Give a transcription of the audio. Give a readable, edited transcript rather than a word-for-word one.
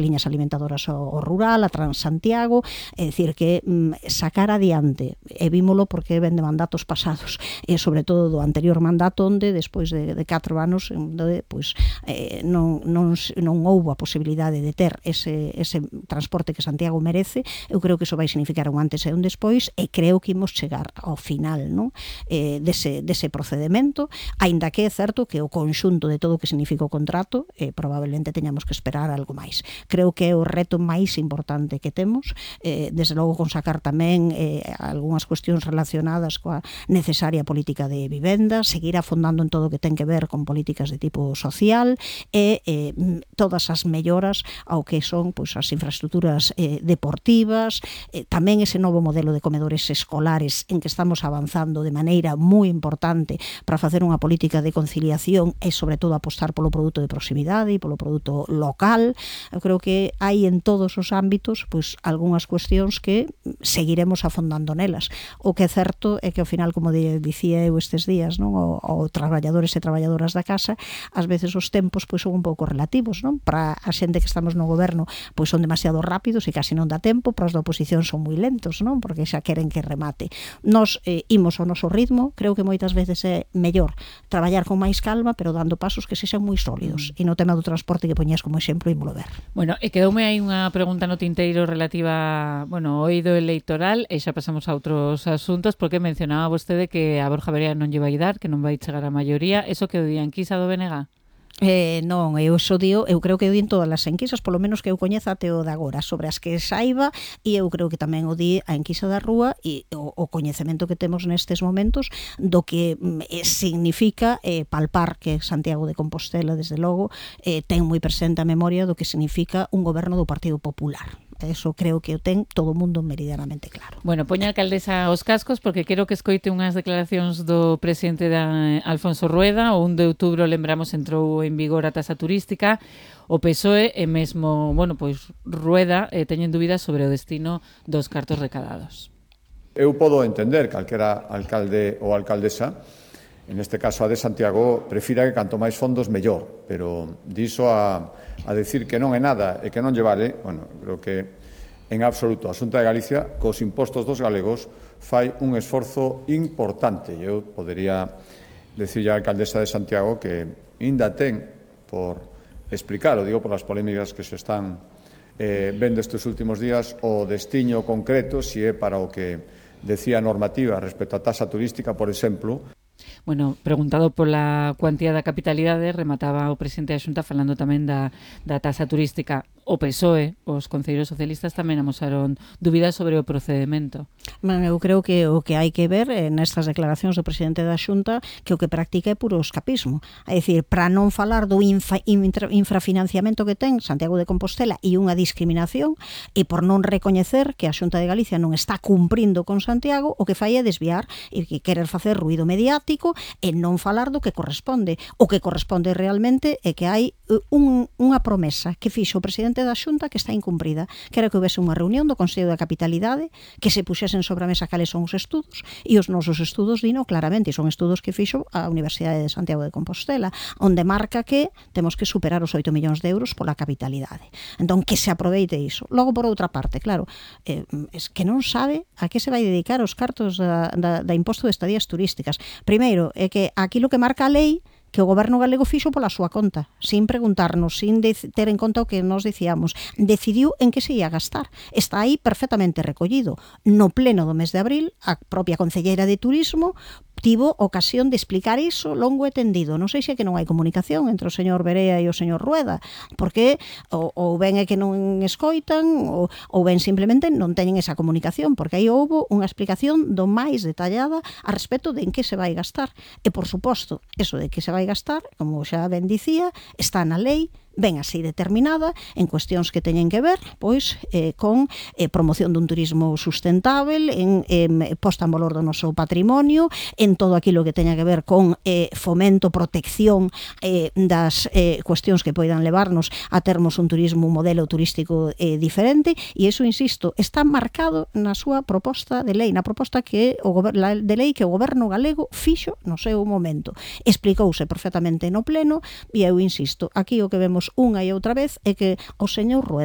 liñas alimentadoras ao rural, a Transantiago, é dicir que sacar adiante, e vímolo porque ven de mandatos pasados, e sobre todo do anterior mandato onde despois de 4 anos onde non houbo a posibilidade de ter ese transporte que Santiago merece. Eu creo que iso vai significar un antes e un despois, e creo que imos chegar ao final, non? Dese procedemento, aínda que é certo que o conxunto de todo o que significa o contrato probablemente teñamos que esperar algo máis. Creo que é o reto máis importante que temos, desde logo con sacar tamén algunhas cuestións relacionadas coa necesaria política de vivenda, seguir afondando en todo o que ten que ver con políticas de tipo social e todas as melloras ao que son as infraestructuras deportivas, tamén ese novo modelo de comedores escolares en que estamos avanzando de maneira moi importante para facer unha política de conciliación e sobre todo apostar polo produto de proximidade e polo produto local. Eu creo que hai en todos os ámbitos algunhas cuestións que seguiremos afondando nelas. O que é certo é que ao final, como dicía eu estes días, non, o traballadores e traballadoras da casa, ás veces os tempos son un pouco relativos, non? Para a xente que estamos no goberno son demasiado rápidos e casi non dá tempo, para os da oposición son moi lentos, non? Porque xa queren que remate. Nos imos ao noso ritmo, creo que moitas veces é mellor traballar con máis calma, pero dando pasos que sexan moi sólidos. E no tema do transporte que poñías como exemplo, ímolo ver. Bueno, e quedoume aí unha pregunta no tinteiro relativa, ao eido electoral, e xa pasamos a outros asuntos, porque mencionaba vostede que a Borja Verea non lle vai dar, que non vai chegar a maioría. Eso que o di a enquisa do BNG? Non, eu creo que o di en todas as enquisas, polo menos que eu coñeza até o de agora, sobre as que saiba, e eu creo que tamén o di a enquisa da rúa, e o coñecemento que temos nestes momentos do que significa palpar que Santiago de Compostela, desde logo, ten moi presente a memoria do que significa un goberno do Partido Popular. Eso creo que o ten todo o mundo meridianamente claro. Bueno, poña a alcaldesa aos cascos, porque quero que escoite unhas declaracións do presidente Alfonso Rueda. O 1 de outubro, lembramos, entrou en vigor a taxa turística. O PSOE e mesmo, Rueda teñen dúbidas sobre o destino dos cartos recadados. Eu podo entender que calquera alcalde ou alcaldesa, en este caso a de Santiago, prefira que canto máis fondos mellor, pero diso a decir que non é nada e que non lle vale, creo que en absoluto a Xunta de Galicia cos impostos dos galegos fai un esforzo importante. Eu podería decirlle á alcaldesa de Santiago que ainda ten por explicar, o digo por as polémicas que se están vendo estes últimos días, o destiño concreto, se é para o que decía a normativa respecto á taxa turística, por exemplo. Bueno, preguntado pola cuantía da capitalidade, remataba o presidente da Xunta falando tamén da taxa turística. O PSOE, os concelleiros socialistas tamén amosaron dúbidas sobre o procedemento. Eu creo que o que hai que ver nestas declaracións do presidente da Xunta que o que practica é puro escapismo. É dicir, para non falar do infrafinanciamento que ten Santiago de Compostela e unha discriminación, e por non recoñecer que a Xunta de Galicia non está cumprindo con Santiago, o que fai é desviar e querer facer ruído mediático e non falar do que corresponde. O que corresponde realmente é que hai unha promesa que fixo o presidente da Xunta que está incumprida, que era que houvese unha reunión do Consello da Capitalidade, que se puxesen sobre a mesa cales son os estudos, e os nosos estudos dino claramente, e son estudos que fixo a Universidade de Santiago de Compostela, onde marca que temos que superar os 8 millóns de euros pola capitalidade. Entón, que se aproveite iso. Logo, por outra parte, claro, es que non sabe a que se vai dedicar os cartos da imposto de estadías turísticas. Primeiro, é que aquilo que marca a lei que o goberno galego fixo pola súa conta, sin preguntarnos, sin ter en conta o que nos dicíamos. Decidiu en que se ia gastar. Está aí perfectamente recollido. No pleno do mes de abril, a propia concelleira de Turismo tivo ocasión de explicar iso longo e tendido. Non sei se é que non hai comunicación entre o señor Verea e o señor Rueda, porque ou ben é que non escoitan ou ben simplemente non teñen esa comunicación, porque aí houbo unha explicación do máis detallada a respecto de en que se vai gastar. E, por suposto, eso de que se vai gastar, como xa ben dicía, está na lei, ben así determinada, en cuestións que teñen que ver con promoción dun turismo sustentável, en posta en valor do noso patrimonio, en todo aquilo que teña que ver con fomento, protección das cuestións que poidan levarnos a termos un turismo, un modelo turístico diferente, e iso, insisto, está marcado na súa proposta de lei, na proposta de lei que o goberno galego fixo no seu momento. Explicouse perfectamente no pleno, e eu insisto, aquí o que vemos unha e outra vez é que o señor Rueda